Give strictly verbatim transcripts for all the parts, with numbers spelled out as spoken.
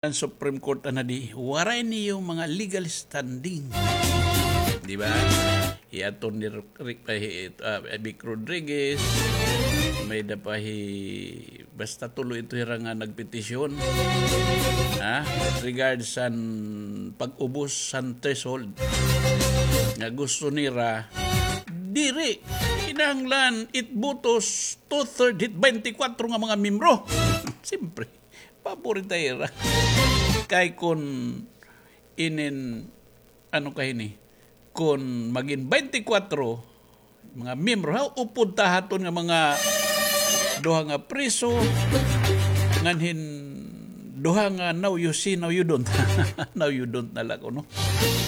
an Supreme Court ana di, waray niyo mga legal standing. Di ba? Hi Attorney Ri-, Ri-, ah, hi, ah, Vic Rodriguez, may-ada pa hi, basta tulo ito hira nga nagpetisyon. Ha? With regards san pag-ubos san threshold nga gusto nira, diri, kinahanglan it botos two-third hit twenty-four nga mga miyembro. Siyempre, pabor ita hira. Kay kun inin, ano ka hini, kun magin twenty-four mga miyembro, ha, upod ta ha aton nga mga duha nga priso, nganhin duha nga now you see, now you don't. Now you don't na la kuno.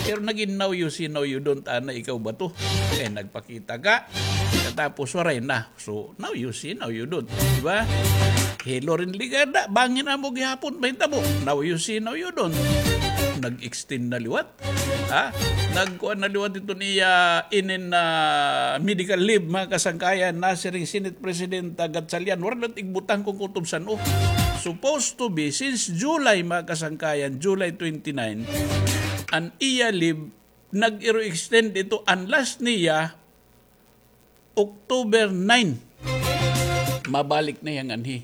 Pero nagin now you see, now you don't, ana, ikaw ba to? Eh, nagpakita ka. Katapos, waray na. So, now you see, now you don't. Di ba? Hi Loren Legarda, bangin amo gihapon mahitabo. Now you see, now you don't. Nag-extend na liwat. Ha? Nagkuan na liwat iton iya inin, ah, medical leave, mga kasangkayan, nasiring Senate President, ah, Gatchalian, waray la igbutang kon kutob san-o. Supposed to be, since July, mga kasangkayan, July twenty-nine, an iya leave, nag-iro-extend ito, an last niya, October nine. Mabalik na hiya nganhi.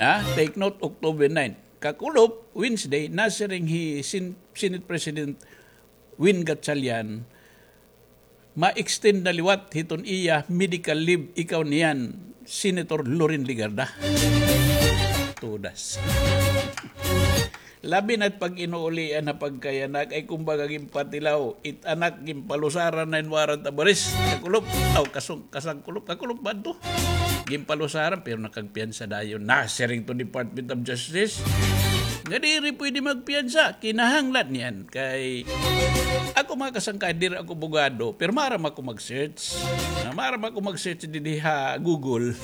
Ha? Take note, October nine. Kakulop, Wednesday, nasiring hi Sen-, Senate President Win Gatchalian, ma-extend na liwat hiton iya medical leave, ikaw niyan, Senator Loren Legarda. Tudas. Labi na it pag-inuulian ha pagkayanak, ay kumbaga ginpatilaw, it anak ginpalusaran na hin warrant of arrest. Kakulop, aw, kasung-, kasangkulop, kakulop ba to? Ginpalusaran, pero nakagpiyansa dayon. Nasiring to Department of Justice nga diri pwede magpiyansa, kinahanglan niyan. Kay ako, mga kasangkayan, diri ako abogado, pero maaram ako mag-search. Ah, maaram ako mag-search didi ha Google.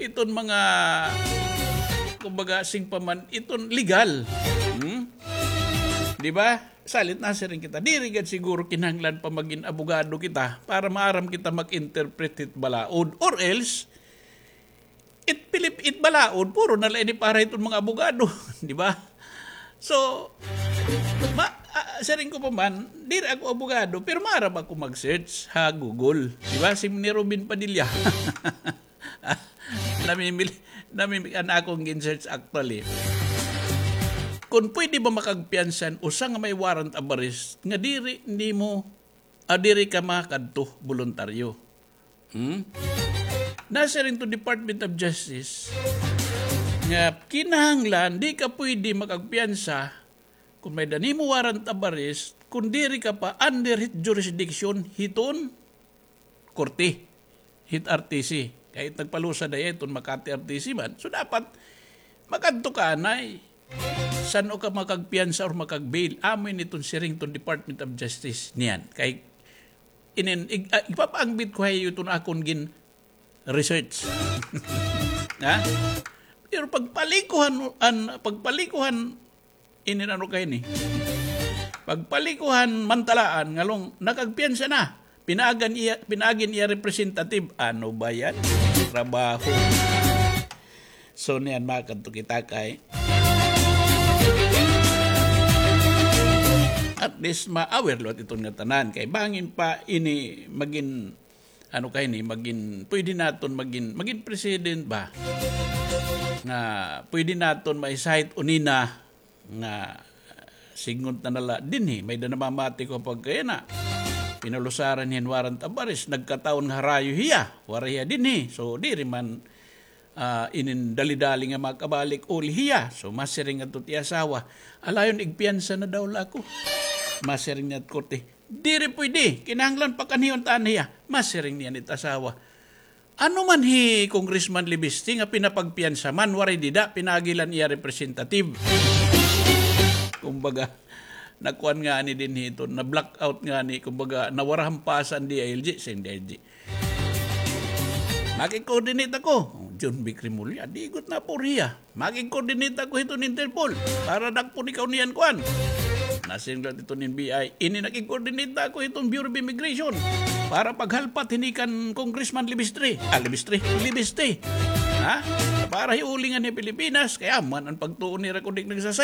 Iton mga, kumbaga, sing pa man, iton legal. Hmm? Di ba? Salit nasiring kita, diri gad siguro kinahanglan pa magin abogado kita para maaram kita mag-interpret hit balaod. Or else, it Pilip-, it balaod, puro na la ini para hiton mga abogado. Di ba? So, ma-, ah, siring ko pa man, diri ako abogado, pero maaram ako mag-search ha Google. Di ba? Si ni Robin Padilla. Namimili, namimili, an akon gin-search actually. Kon pwede ba makagpiyansa an usa nga may warrant of arrest nga diri nimo, ah, diri ka makadto boluntaryo? Hmm? Nasiring to Department of Justice nga kinahanglan di ka pwede makagpiyansa kon may-ada nimo warrant of arrest kon diri ka pa under hit jurisdiction hiton korte, hit R T C. Kay nagpalusa dayon hiton Makati R T C man. So, dapat makadto ka anay. San-o ka makagpiyansa or makag-bail? Amo ini iton siring hiton Department of Justice niyan. Kay inin, ig-, ah, ipapaangbit ko ha iyo iton akon gin-research. Ha? Pero pagpalikuhan, an, pagpalikuhan, inin ano ka ini? Pagpalikuhan mantalaan, ngalong nakagpiyansa na. Pinaagi an iya, pinaagi an iya representative. Ano ba yan? Trabaho. So, niyan, makadto kita kay at least ma-aware liwat iton ngatanan. Kay bangin pa ini magin, ano ka ini, magin, pwede naton magin, magin president ba? Nga pwede naton ma-cite unina nga signgon ta na la dinhi, may-ada namamati ko pagkayana. Pinalusaran hin warrant of arrest, nagkataon nga harayo hiya, waray hiya dinhi. So, diri man, ah, inin dali-dali nga makabalik uli hiya. So, masiring adto it iya asawa, alayon igpiyansa na daw la ako. Masiring niyan it korte, diri pwede, kinahanglan pakanhion ta an hiya. Masiring niyan it asawa, ano man hi Congressman Libiste nga pinapagpiyansa man, waray dida, pinaagi la an iya representative. Kumbaga, nakuan ngani dinhi iton, na-blackout ngani, kumbaga, nawarahan pa san D I L G, sin D I L G. Makig-coordinate ako. John Vic Remulla, digot na puriya. Makig-coordinate ako hiton Interpol para dakpon ikaw niyan kuan. Nasiring liwat iton N B I, ini nakig-coordinate ako hiton Bureau of Immigration para paghalpat hini kan Congressman Libistre. Ah, Libistre. Libiste. Ha? Para hiuli nganhi Pilipinas, kay man an pagtuo nira kun di nagsasay.